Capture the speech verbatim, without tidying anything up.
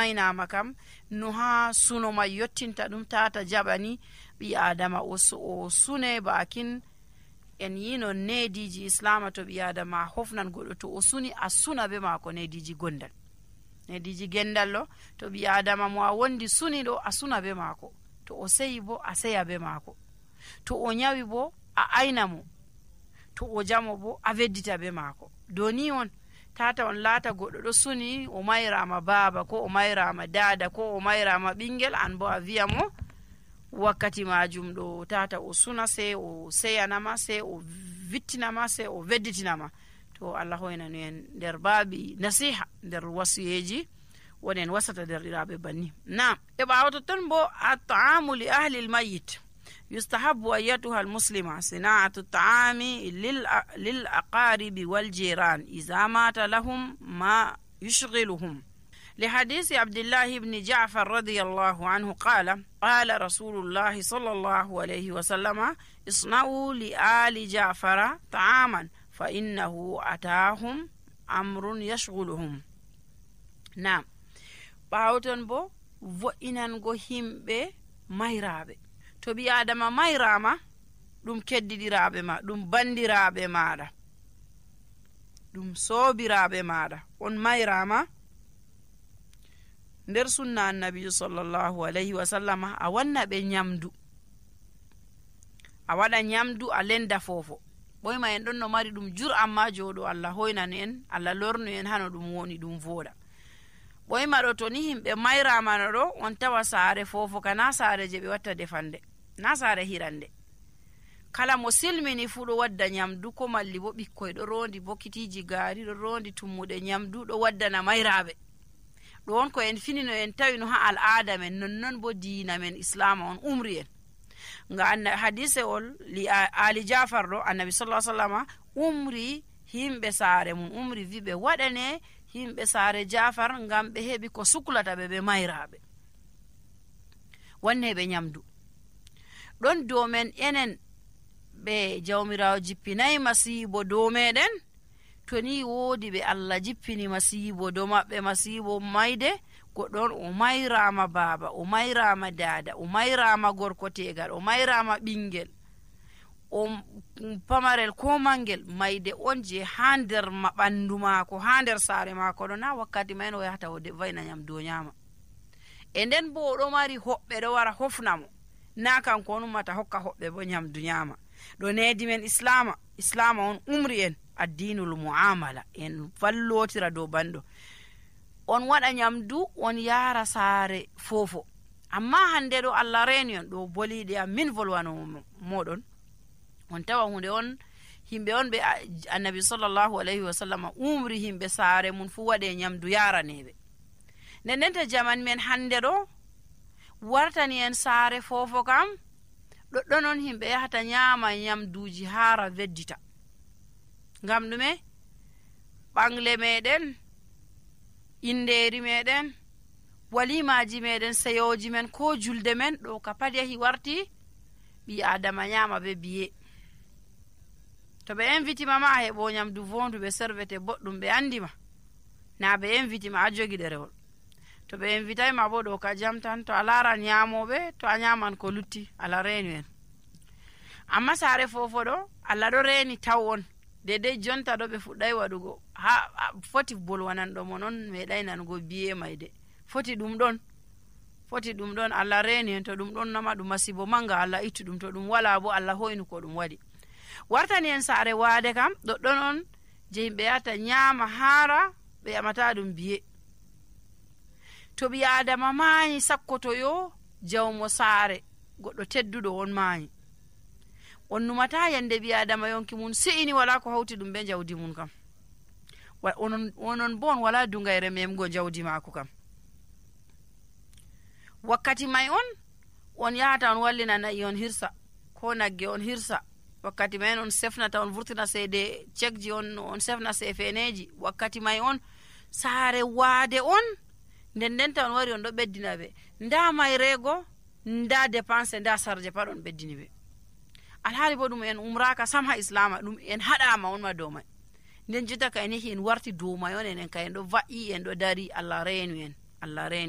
aynama kam no ha suno ma yottinta ɗum tata jaɓani ɓi adama o, o sune bakin en yino nediji islama to ɓi adama hofnan goɗɗo to o suni a suna be mako nediji gondal nediji gendallo to ɓi adama mo a wondi suni ɗo a suna be mako, to o seyi bo a seya be mako, to o nyawi bo a ayna mo, to o jamo bo a veddita be mako. doni on tata on laata goɗɗo ɗo suni o mayrama baba ko o mayrama dada ko o mayrama ɓingel an bo a wiya mo wakkati majum ɗo tata o suna sei o seyanama sei o vittinama sei o vedditinama. to Allah hoynanu en nder baabi nasiha nder wasiyeji wonen wasata derɗiraɓe banni. na e ɓawo totton bo at-ta'amu li ahli al-mayyit yustahabu ayyatuha al-muslima sina'atu at-ta'ami lil lil aqaribi wal jiran idha mata lahum ma yushghiluhum لحديث عبد الله بن جعفر رضي الله عنه قال قال رسول الله صلى الله عليه وسلم اصنعوا لآل جعفر طعاما فإنه أتاهم أمر يشغلهم. نعم باوتن بو vo'inango himɓe mayraɓe to ɓi adama mayrama ɗum keddidiraɓe ma ɗum bandiraɓe maɗa ɗum sobiraɓe maɗa on mayrama nder sunna annabijo sallallahu alayhi wa sallama a wanna ɓe nyamdu, a waɗa nyamdu a lenda fofo ɓoyma en ɗon no mari ɗum jur amma joɗo Allah hoynanu en Allah lornu en hano ɗum woni ɗum voɗa. ɓoyma ɗo to ni himɓe mayramano ɗo on tawa saare fofo ka na saare je ɓe watta defande na saare hirande, kala mo silmini fu ɗo wadda nyamdu ko malli bo ɓikkoy ɗo rondi bokitiji gaari ɗo rondi tummuɗe nyamdu ɗo waddana mayraɓe. ɗo on ko en finino en tawino ha al'ada men nonnon bo diina men islama on umri en nga anna hadise ol li ali jafar ɗo annabi sallallahu alaihi wasallam umri himɓe saare mum umri wi ɓe waɗane himɓe saare jafar ngam ɓe heɓi ko suklata ɓe ɓe mayraɓe wanne ɓe nyamdu ɗon dow men enen ɓe jawmirawo jippinayi masibo dow meɗen to ni woodi ɓe Allah jippini masibo dow maɓɓe masibo mayde goɗɗon o mayrama baba o mayrama dada o mayrama gorko tegal o mayrama ɓingel o pamarel ko mangel mayde on je ha nder ma ɓandu maako ha nder saare maako ɗo na wakkati mayen o yahata o vayna nyamdu o nyama e nden bo oɗo mari hoɓɓe ɗo wara hofnamo na kanko on ummata hokka hoɓɓe bo nyamdu nyama. ɗo nedi men islama islama on umri en addinul muamala en vallotira dow banɗo on waɗa nyamdu on yara saare fofo amma hande ɗo Allah reni on ɗo boliɗe am min volwano moɗon on tawa hunde on himɓe on ɓe annabi sallallahu alayhi wa sallam umri himɓe saare mun fu waɗe nyamdu yaraneɓe nden ndenta jaman men hande ɗo wartani en saare fofo kam ɗoɗɗon on himɓe yahata nyama nyamduji hara veddita ngam ɗume ɓangle meɗen inderi meɗen walimaji meɗen seyoji men ko julde men ɗo ka pat yahi warti ɓi adama nyama be biye to ɓe invitima ma a heɓo nyamdu vondu ɓe servete boɗɗum ɓe andima na ɓe invitima a jogi ɗerewol to ɓe invitayma bo ɗo ka jam tan to a laran nyamoɓe to a nyaman ko lutti Allah reni en amma saare fofo ɗo Allah ɗo reni taw on dedei jonta ɗo ɓe fuɗɗay waɗugo ha foti bolwananɗo mo non meɗay nanugo biye mayde foti ɗum ɗon foti ɗum ɗon Allah reni en to ɗum ɗon nama ɗum masibo manga Allah ittu ɗum to ɗum wala bo Allah hoynu ko ɗum waɗi wartani en saare waade kam ɗoɗɗon on je yimɓe yata nyama hara ɓe yamata ɗum biye to ɓi adama mayi sakkotoyo jawmo saare goɗɗo tedduɗo on mayi on numata yande ɓi adama yonki mun se'ini wala ko hawti ɗum be jawdi mun kam onon onon bon wala dungayre memgo jawdi mako kam wakkati may on on yahata on wallina nayi on hirsa ko nagge on hirsa wakkati may on sefnata on vurtina seede cekji on on sefna sefeneji wakkati may on saare waade on nden ndenta on wari on ɗo ɓeddina ɓe nda mayrego nda dépense nda sarje pat on ɓeddini ɓe alhaali bo ɗum en umraka sam ha islama ɗum en haɗama on ma dow may nden jotta ka en yahi en warti dow may on enen ka en ɗo va'i en ɗo dari Allah reenu en Allah reeni